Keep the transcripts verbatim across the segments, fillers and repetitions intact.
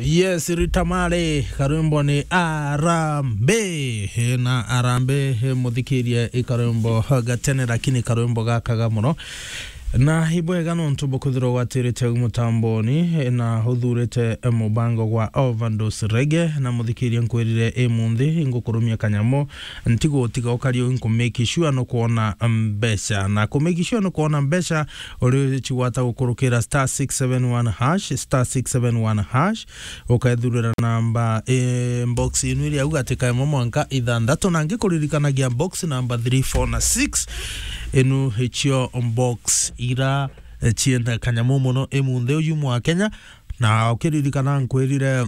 Yes, Rita Mare, karwimbo ni Arambe. Na Arambe, muthikirie i karwimbo gatene, lakini karwimbo gakaga muno. Na ibwega nontu bukwithirwa gwatirite au mutamboni, na uthurite mubango gwa Overdose Reggae, na muthikirie nkwirire i munthi, ngukurumia kanyamu, ntigutiga ukari uu, nku make sure nukwona mbeca. Na ku make sure nukwona mbeca, uri cigwata gukurukira star six seven one hash, star six seven one hash, ukethurira namba, eh, box inu iri au gatika imwe mwanka ithanthatu, na ngikuririkanagia box number three, four na six, inu icio box ira, eh, cienda kanyamu muno i munthi uyu mwa Kenya. Na ukiririkana nkwirire,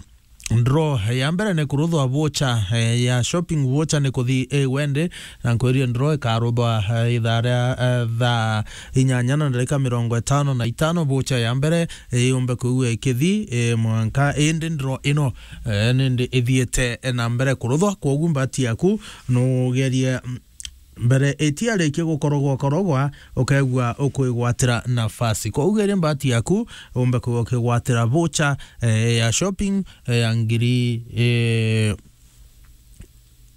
draw ya mbere ni kuruthwa voucher, eh, ya shopping voucher ni kuthi, eh, wende, na nkwirire draw ikaruthwa, eh, ithaa ria, eh, thaa inyanya na ndarika mirongo itano na itano, voucher ya mbere, eh, yumbe kwigua ikithi, eh, mwanka, indi draw ino, eh, nindi ithiite, eh, na mbere kuruthwa. Kwogu mbati yaku nugerie, mm, mbere itiarikia gukorogwa korogwa, ukegua ukwigwatira nafasi. Kwogu geria mbati yaku, umbe kwigua ukigwatira voucher, eh, ya shopping, eh, ya ngiri, eh,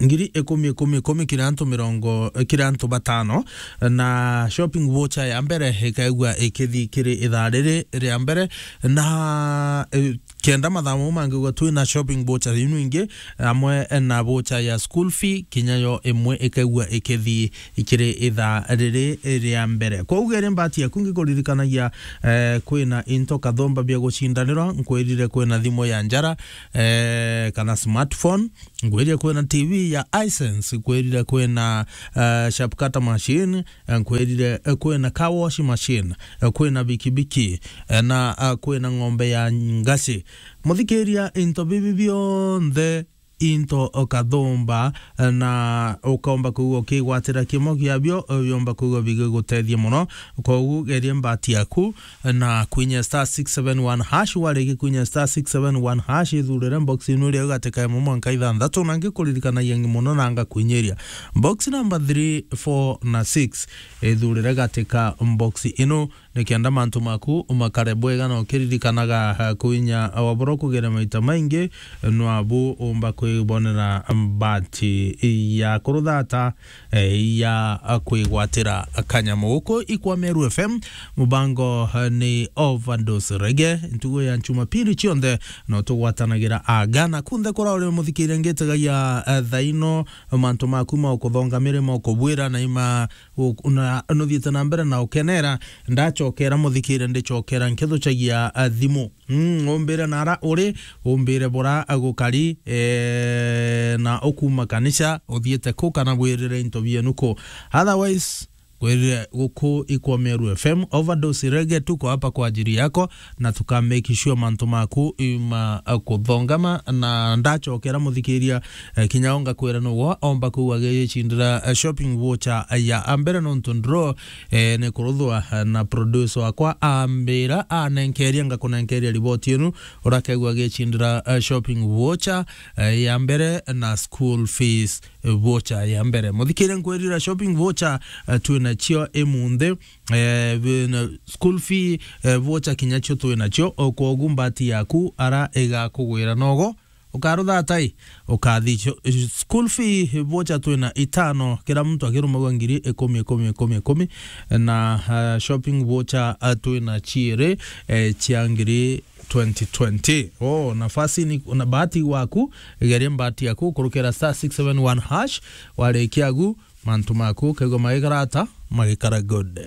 ngiri ikumi, ikumi, ikumi kiri antu mirongo, eh, kiri antu batano, na shopping voucher ya mbere ikegua ikithi kiri ithaa riri ria mbere, na, eh, kenda mathaa mau mangi gwa twina shopping voucher inu ingi, amwe na voucher ya school fee, kinya yo imwe ikaigua ikithi kiri ithaa riri ria mbere. Kwogu geria mbati yaku ngikuririkanagia, eh, kwina into kathomba bia gucindanirwa, nkwirire kwina thimu ya njara, eh, kana smartphone, nkwirire kwina T V ya Hisense, nkwirire kwina, eh, sharp cutter machine, eh, nkwirire, eh, kwina car wash machine, eh, kwina bikibiki, eh, na, eh, kwina ng'ombe ya ngaci. Muthikiria, into bibi bionthe into ukathumba, eh, na ukaumba kwigua ukigwatira kimwe kiabio, eh, biumba kwigua bigigutethia muno. Kwogu geria mbati yaku, eh, na kwinya star six seven one hash. Wariki kwinya star six seven one hash, ithurire box inu iria igatika imwe mwanka ithanthatu, na ngikuririkanagia ngi muno na ngakwinyiria. Box number three, four na six, ithurire gatika box ino, nikenda mantu maku umakare bwega na ukiririkanaga, eh, kwinya wabura kugeria maita maingi, nwabu umba kwibonera mbati ya kuruthata, eh, ya kwigwatira kanyamu. Guku ikwa Meru F M, mubango, eh, ni Overdose Reggae, ntugo ya Jumapili cionthe no tugwatanagira aga. Na kunthe kura uri muthikiria ngitegagia, eh, thaino, mantu maku ma ukuthonga mirimo kubwira na ima u-, una-, nuthiite na mbere na ukenera, ndachokera muthikiria, ndichokera nkithucagia, a, thimu. Mm, umbire nara uri, umbire bura gukari, eh, na ukuma kanisa, uthiite ku kana bwirire into bienu ku. Otherwise, kwirire guku ikwa Meru F M, Overdose Reggae, tuko hapa kwa ajili yako, na tuka make sure mantu maku ima, eh, kuthongama, na ndachokera muthikiria, eh, kinya onga kwira nugo omba kuu agicindira, eh, shopping voucher ya ambere nontu draw, eh, ni kuruthwa, eh, na producer wakwa ambira anenkeria ngakunenkeria riboti inu, urakegua agicindira, eh, shopping voucher, eh, ya mbere na school fees voucher ya mbere. Muthikiria nkwirira shopping voucher, eh, twina cio imunthi, eh, bi-, na school fee, eh, voucher kinya cio twina cio, o kwogu mbati yaku ara igakugwira nogo, ukarutha atai, ukathi cio, school fee voucher twina itano, kira muntu akirumagwa ngiri ikumi, ikumi, ikumi, ikumi, na, eh, shopping voucher, eh, twina ciiri, eh, cia ngiri twenty twenty. Oh, nafasi ni, na bahati waku, geria mbati yaku, kurukira star six seven one hash, warikia agu, mantu maku, kegwa magikara ata, magikara good.